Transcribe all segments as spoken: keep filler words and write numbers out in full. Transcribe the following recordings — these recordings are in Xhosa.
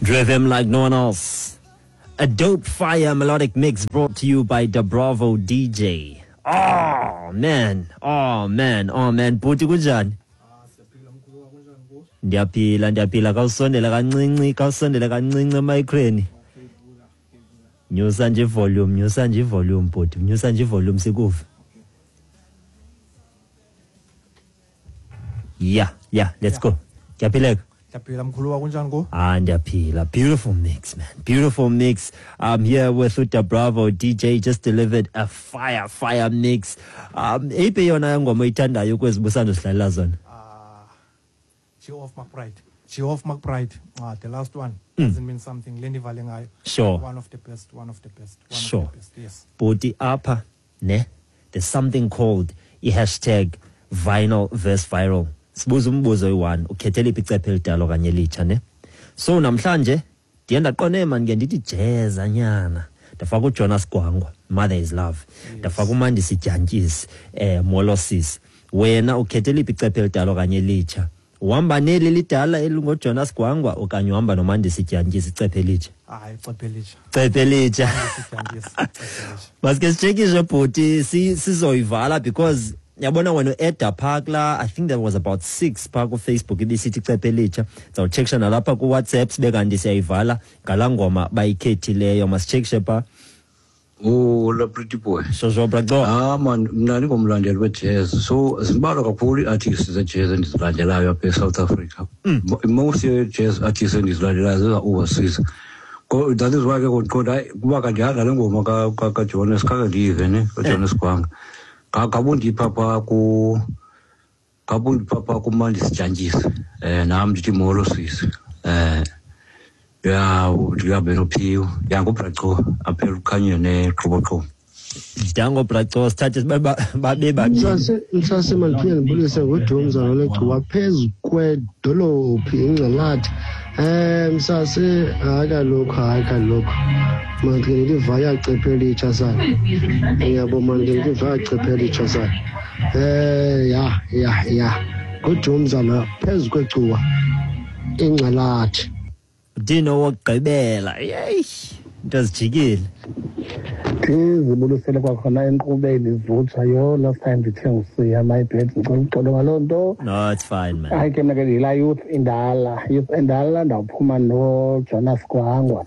Drive him like no one else. A dope fire melodic mix brought to you by Da Bravo D J. Oh man, oh man, oh man. Bhuti kunjani? Ndiyaphila, ndiyaphila. Khawusondele kancinci, khawusondele kancinci emayikreni. Nyusa nje volume, nyusa nje volume bhuti, nyusa nje volume sikuve. Yeah, yeah, let's go. Ndiyaphileka. Ndiyaphila mkhulu, kunjani ko? Ah, ndiyaphila. Beautiful mix, man. Beautiful mix. I'm here with uDa Bravo D J, just delivered a fire, fire mix. Um, eyiphi yona ngoma oyithandayo kwezi busando sidlalela zona? Ah, Geoff McBride. Geoff McBride. Ah, the last one. Mm. Doesn't mean something. Lendivale ngayo. Sure. One of the best, one of the best. One sure. of the best. Yes. Bhuti apha, ne? There's something called i hashtag vinyl versus viral. Sibuza umbuzo oyi-one, ukhethela iphi icephe elidala okanye elitsha, ne? So namhlanje ndiye ndaqonde man ke ndithi jazz anyana. Ndafaka uJonas Gwangwa, Mother is Love. Ndafaka uMandisi Dyantyisi, eh Molo Sisi. Wena ukhethela iphi icephe elidala okanye elitsha? Uhamba neli lidala elingoJonas Gwangwa okanye uhamba noMandisi Dyantyisi icephe elitsha? Hayi, icephe elitsha. Icephe elitsha. Mandisi Dyantyisi, icephe elitsha. Maske sitshekishe bhuti, sizoyivala because yabona wena uEda Park la, I think there was about six phaa ku-Facebook ibisithi icephe elitsha. Sizawutshekisha nalapha ku-WhatsApp sibe kanti siyayivala ngalaa ngoma bayikhethileyo. Masitshekishe phaa. Oh, la pretty boy. Shosho braco. Ah man, mna ndingumlandeli we-jazz. So zimbalwa kakhulu ii-artists ze-jazz endizilandelayo apha eSouth Africa. Mm. Most ye-jazz artists endizilandelayo zeza-overseas. That is why ke ndiqonda hayi kuba kanti ndihamba le ngoma kaJonas khange ndiyive ne, kaJonas Gwangwa. Ngabundipha phaa ku ngabundipha phaa kuMandisi Dyantyisi. Eh nam ndithi molo sisi. Eh ya ndihambe noPhiwo. Ya nguBraco apha elukhanyweni neqhoboqhobo. Dango Braco, sithathe babe babini. Msase msase mandiphinde ndibulise ngoDumza lologcuwa phezu kwedolophi iNgxalathi. Eh msase hayi kaloku hayi kaloku. Mandike ndivaya cephe elitsha sana. Uyabo mandike ndivaya cephe elitsha sana. Eh ya ya ya. NguDumza lo phezu kwegcuwa iNgxalathi. Dino wokugqibela. Yeyi, into zijikile. Ndizibulisele kwakhona enkqubeni ivutsha. Yho, last time ndithe ngusiya, my bad, ndicela uxolo ngaloo nto. No, it's fine, man. Hayi ke mna ke ndiyilaa youth indala. Youth endala ndawuphuma noJonas Gwangwa.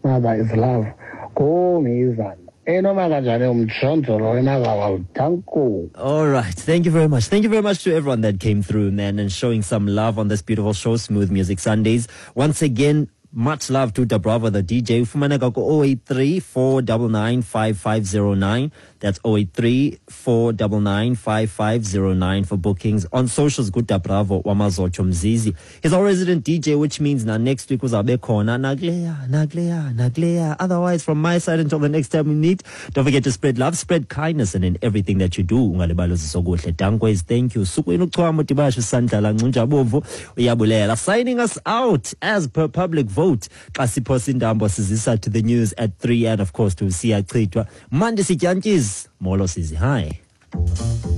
Mother is Love. Ngomizana. Enoma kanjani umjonjolo enazawa danko. All right. Thank you very much. Thank you very much to everyone that came through, man, and showing some love on this beautiful show, Smooth Music Sundays. Once again, much love to Da Bravo, the D J. Ufumaneka ku oh eight three, four nine nine, five five zero nine. That's oh eight three, four nine nine, five five zero nine for bookings. On socials, good Da Bravo, Wamazocho Mzizi. He's our resident D J, which means now next week uzabe khona. Naglea, naglea, naglea. Otherwise, from my side, until the next time we meet, don't forget to spread love, spread kindness, and in everything that you do, ungalibali uzisokuhle. Dankwez, thank you. Sukwenu uchwamo tibasho sandlala ngunjabomvu uyabulela. Signing us out as per public vote. Xa siphosa intambo sizisa to the news at three and of course to Siyachithwa. Mandisi Dyantyisi, molo sisi, hi.